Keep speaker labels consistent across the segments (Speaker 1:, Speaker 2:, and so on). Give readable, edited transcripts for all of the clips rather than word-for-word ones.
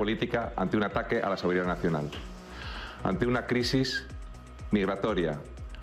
Speaker 1: política ante un ataque a la soberanía nacional, ante una crisis migratoria,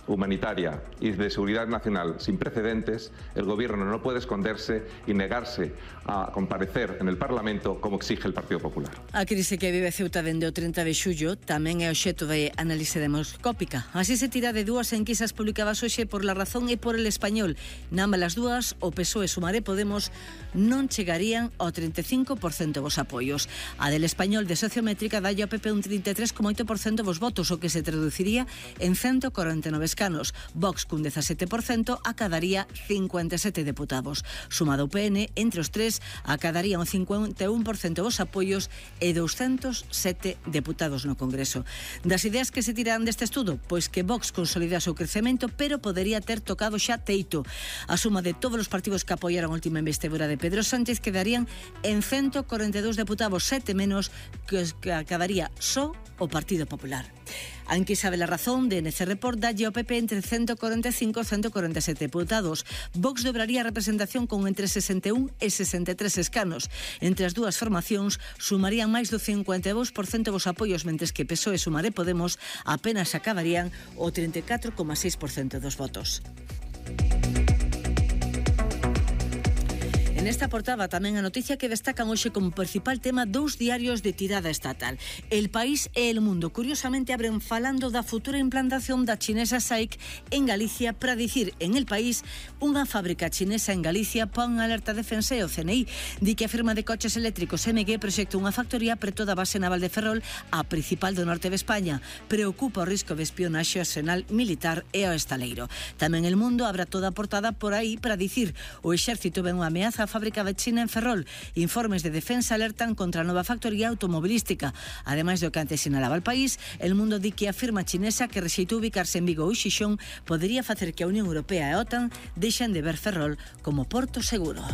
Speaker 1: humanitaria y de seguridad nacional sin precedentes. El Gobierno no puede esconderse y negarse a comparecer en el Parlamento como exige el Partido Popular.
Speaker 2: A crise que vive Ceuta dende o 30 de xullo tamén é obxecto de análise demoscópica. Así se tira de dúas enquisas publicadas hoxe por La Razón e por El Español. Nambas as dúas, o PSOE, Sumar e Podemos non chegarían ao 35% dos apoios. A del Español de Sociométrica dalle ao PP un 33,8% dos votos, o que se traduciría en 149 escanos. Vox, cun 17%, acadaría 57 deputados. Sumado o PN, entre os tres, acadarían o 51% dos apoios e 207 deputados no Congreso. Das ideas que se tiran deste estudo, pois que Vox consolida o seu crecemento, pero podería ter tocado xa teito. A suma de todos os partidos que apoiaron a última investidura de Pedro Sánchez quedarían en 142 deputados, 7 menos que acadaría só o Partido Popular. A enquisa de La Razón de NC Report dalle ao PP entre 145 e 147 deputados. Vox dobraría a representación con entre 61 e 63 escanos. Entre as dúas formacións sumarían máis do 52% dos apoios, mentres que PSOE, Sumar e Podemos apenas acabarían o 34,6% dos votos. Nesta portada tamén a noticia que destacan hoxe como principal tema dous diarios de tirada estatal. El País e El Mundo, curiosamente, abren falando da futura implantación da chinesa SAIC en Galicia para dicir en El País unha fábrica chinesa en Galicia pon alerta de defensa e o CNI di que a firma de coches eléctricos MG proxecta unha factoría preto da base naval de Ferrol, a principal do norte de España. Preocupa o risco de espionaxe ao arsenal militar e ao estaleiro. Tamén El Mundo abra toda a portada por aí para dicir o exército ven unha ameaza a fábrica de China en Ferrol. Informes de defensa alertan contra a nova factoría automobilística. Ademais do que antes sinalaba El País, El Mundo di que a firma chinesa que rexeitou ubicarse en Vigo ou Xixón podería facer que a Unión Europea e a OTAN deixen de ver Ferrol como porto seguro.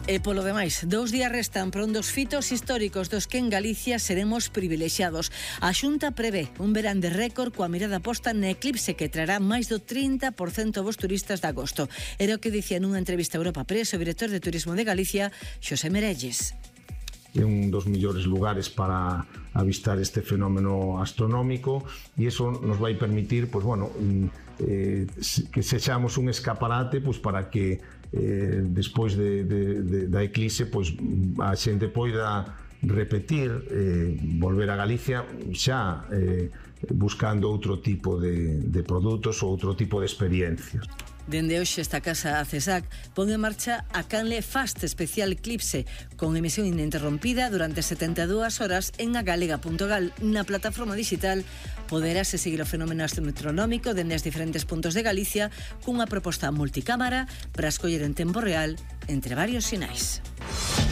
Speaker 2: E polo demais, 2 días restan para un dos fitos históricos dos que en Galicia seremos privilexiados. A Xunta prevé un verán de récord coa mirada posta na eclipse que traerá máis do 30% dos turistas de agosto. Era o que dicía nunha entrevista a Europa Press o director de Turismo de Galicia, Xosé Merelles.
Speaker 3: É un dos mellores lugares para avistar este fenómeno astronómico e iso nos vai permitir, pois bueno, que sexamos un escaparate, pois para que despois da eclipse, pois a xente poida repetir, volver a Galicia xa buscando outro tipo de produtos ou outro tipo de experiencias.
Speaker 2: Dende hoxe esta casa, a CESAC, pon en marcha a Canle Fast Especial Eclipse, con emisión ininterrompida durante 72 horas en agalega.gal. Na plataforma digital poderase seguir o fenómeno astronómico dende os diferentes puntos de Galicia cunha proposta multicámara para escoller en tempo real entre varios sinais.